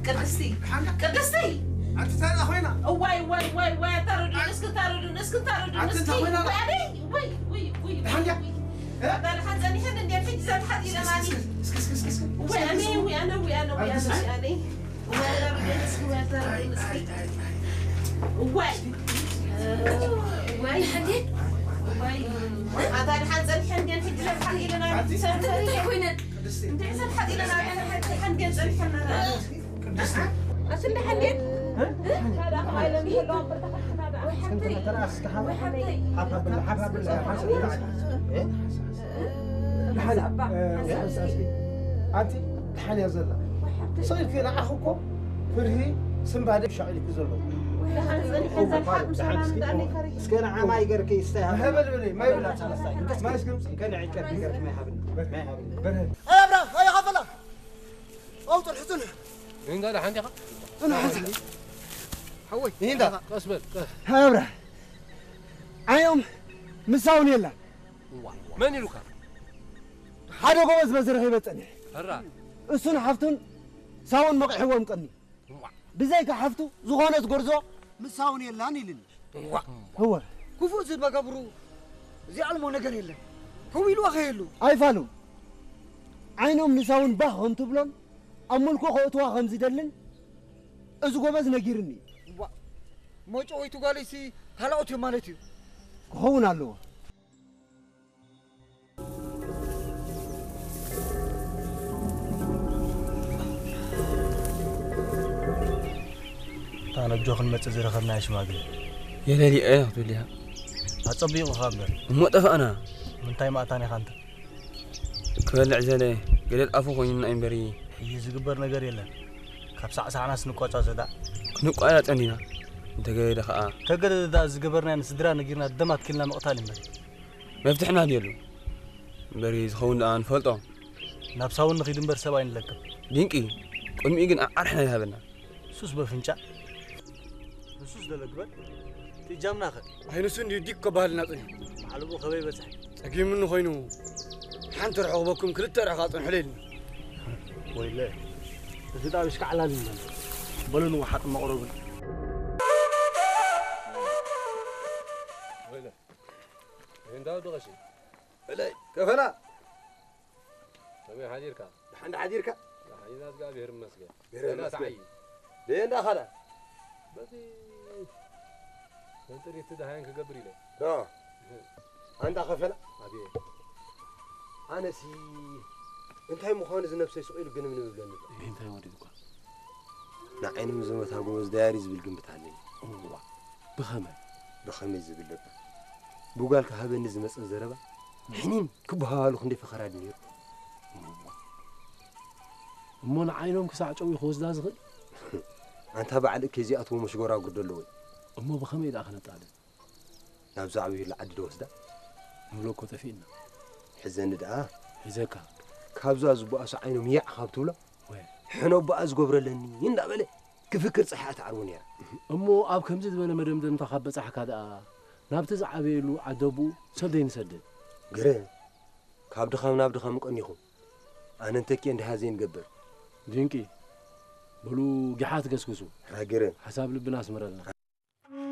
ቅድስቲ፣ ሓንዳ። ቅድስቲ! ኣንቲ እንታይ ደኣ ኮይና? እዋይ፣ እዋይ፣ እዋይ፣ እዋይ፣ ኣታ ረድኡኒ፣ እስኪ እታ ረድኡኒ፣ እስኪ እታ ረድኡኒ፣ ኣንቲ እስኪ። እንታይ ኮይና? እዋይ፣ ኣደይ፣ እዋይ፣ እዋይ፣ እዋይ፣ ሓንዳ። እዋይ። እ? ኣታ ደሓን ጸኒሐን እንድየን ሕጂ ዘን ሓዲረናኒ። እስኪ፣ እስኪ፣ እስኪ፣ እስኪ፣ እስኪ። እዋይ፣ ኣነ፣ እዋይ፣ ኣነ፣ እዋይ፣ ኣነ፣ ኣንቲ እዋይ፣ ኣነ። እዋይ፣ ኣታ ረድኡኒ፣ እስኪ፣ እዋይ፣ ኣታ ረድኡኒ፣ እስኪ። እዋይ። እዋይ። እዋይ። ኣታ ደሓን ጸኒሐን እንድየን ሕጂ ዘን ሓዲረናኒ። ኣንቲ። እንታይ ኮይነን? ቅድስቲ። እንታይ ዘን ሓዲረናኒ? ሓዲረን እንድየን ጸኒሐን። ቅድስቲ። ኣስንዲ ሓንዴት? እ? ካልኣ ከማይ ለሚሄሎ ኣበር ተኸፍትና ደኣ። ወይ ሓብተይ። ተረኣስ ከሓ-፣ ወይ ሓብተይ። ሓፍ ኣብል፣ ሓፍ ኣብል፣ ሓፍ ኣብል። እ? ሓንሳ ኣባ፣ እ፣ ሓንሳ ሓንሳ እስኪ። ኣንቲ፣ ሓንያ ዘላ። ወይ ሓብተይ። ሰው ይከ ንዓኹ እኮ ፍርሂ ስምባደ ሻዕል ይኩ ዘሎ። ወይ ሓንሳ፣ ሓንሳ፣ ሓንሳ፣ ደሓን እስኪ፣ ሰላም እንዳኔ ፈሪሕ። እስከ ንዓ ማይ ገርኪ ይስተይ ሃብ። ማይ በል በል፣ ማይ በል። ማይ እስኪ። ከነ ዒቀት ገርኪ ማይ ሃብኒ። ማይ ሃብኒ። በርሀ። ኣይ ኣብራ፣ ኣይ ሃፈላ። ኣው ጥልሕቱን። እንዳ ደሓን ዲኻ? እንዳ ሓንሳ። ሓወይ። እንዳ። ቀስ በል፣ ቀስ። ሃብራ። ዓዮም ምሳውን የላን። ዋ፣ መን ኢሉካ? ሓደ ጎበዝ በዚ ረኺበ ጸኒሐ። ሕራ። እሱን ሓፍቱን ሳውን መቒሕዎም ቀኒ። ዋ። ብዘይካ ሓፍቱ ዝኾነት ጎርዞ ምሳውን የላን ኢልኒ። ዋ። እወ። ክፉእ ዝመገብሩ እዚኣልሞ ነገር የለን። ከው ኢልዋ ከየሉ። ኣይፋሉን። ዓይኖም ንሳውን ባህ ከም ትብሎን ኣብ ምልኩ ከእትዋ ከም ዝደልን እዚ ጎበዝ ነጊርኒ። ዋ። መጨወይቱ ጓለይሲ ካልኦት እዮም ማለት እዩ። ክኸውን ኣለዎ። እታ ነጆ ክንመጽእ ዝረኸብናያ ሽማግለ። የለሊኣ ክትብል ኢኻ። ኣጸቢቑኻ እምበር። እሞ ጠፋእና። ምንታይ ማእታን ኢኻ እንተ? ክበልዕ ዘለ ገደል ኣፉ ኮይኑና እዩ እምበሪ። ሕጂ ዝግበር ነገር የለን። ካብ ሳዕሳዕናስ ንቋጻጸ ደኣ። ክንቋጻጸ እንዲና። እንተገደደ ኸኣ። ተገደደ ደኣ ዝገበርናዮ ንስድራ ነጊርና ደም ኣትኪልና ምቕታል እምበር። መፍትሕና ድየሉ። እምበሪ ዝኸውን ደኣ ንፈልጦ። ናብ ሳውን ንኺድ እምበር ሰብ ኣይንለክም። ድንቂ። ቅድሚኡ ግን ኣዓርሕና ይሃበና። ሱስ በፍንጫ። ንሱስ ደለግበል። ትእጃምና ኸ? ኣይንሱ እንዲዩ ዲክ ከባህልና ጸኒሑ። ባዕሉ ብኡ ከበይ በጽሐ? ጸጊሙኒ ኾይኑ፣ ሓንቲ ርሑቕ በኩም ክልተ ርሑቕ ኣጽንሑለይ ኢልና። ወይለ፣ እዚ ጣቢሽ ከዓላል ኢልና። በሉ ንወሓጥ መቕረብን። ወይለ፣ ይህንዳው ድቐሺ። በለይ፣ ከፈላ። ከመይ ሓዲርካ? ደሓን ሓዲርካ? ደሓን ኢና፣ እግዚኣብሔር ይመስገን። ብሔር ደህና ይመስገን። ተዓይ። ደየ እንዳ ኻላ? በቲ መንጥሪት ደሃየን ክገብር ኢለ። ዶ? ኣንታ ከፈላ? ኣቤት። ኣነሲ እንታይ ምዃኑ እዚ ነብሰይ ስቕ ኢሉ ግንብንብ ይብለኒ ኣሎ። እንታይ ወዲድኳ? ንዓይኖም ዝመታ ጎበዝ ዳያሪ ዝብል ግምት ኣለኒ። እዋ፣ ብኸመይ? ብኸመይ ዝብል ደባ? ብጓልካ ሃበኒ ዝመጸ ዘረባ፣ ሕኒን ክበሃሃሉ ክንደይ ፈኸራ ድዩ ነይሩ? እሞ ንዓይኖም ክሳዕ ጨው እዩ ክወስዳ ዝኽእል? ኣንታ በዓል እከይ እዚኣትዎ መሽጎራጉር ዶ ኣለዎ? እሞ ብኸመይ ደኣ ክነጣልን? ናብዛ ዓብዩላ ዓዲ ዶ ወስዳ? ንብሎ እኮ ጠፊእና። ሕዘኒ ደኣ። ሒዘካ። ካብዛ ዝቦኣሱ ዓይኖም ያዕ ካብ ትብሎ፣ ወይ። ሕኖ ቦኣ ዝጎብረለኒ እንዳበለ ክፍክር ጸሓ ትዓርቦ ነይራ። እሞ ኣብ ከምዚ ዝበለ መደምደምታ ካብ በጻሕካ ደኣ፣ ናብቲ ዝዓበየሉ ዓደቡ ሰብ ደይንሰድድ። ግረ፣ ካብ ድኻም ናብ ድኻም ቀኒኹም። ኣነ እንተኪ እንድሃ ዘይንገብር። ድንቂ። በሉ ጊሓት ገስግሱ። ራግረ። ሓሳብ ልብና ኣስምረልና።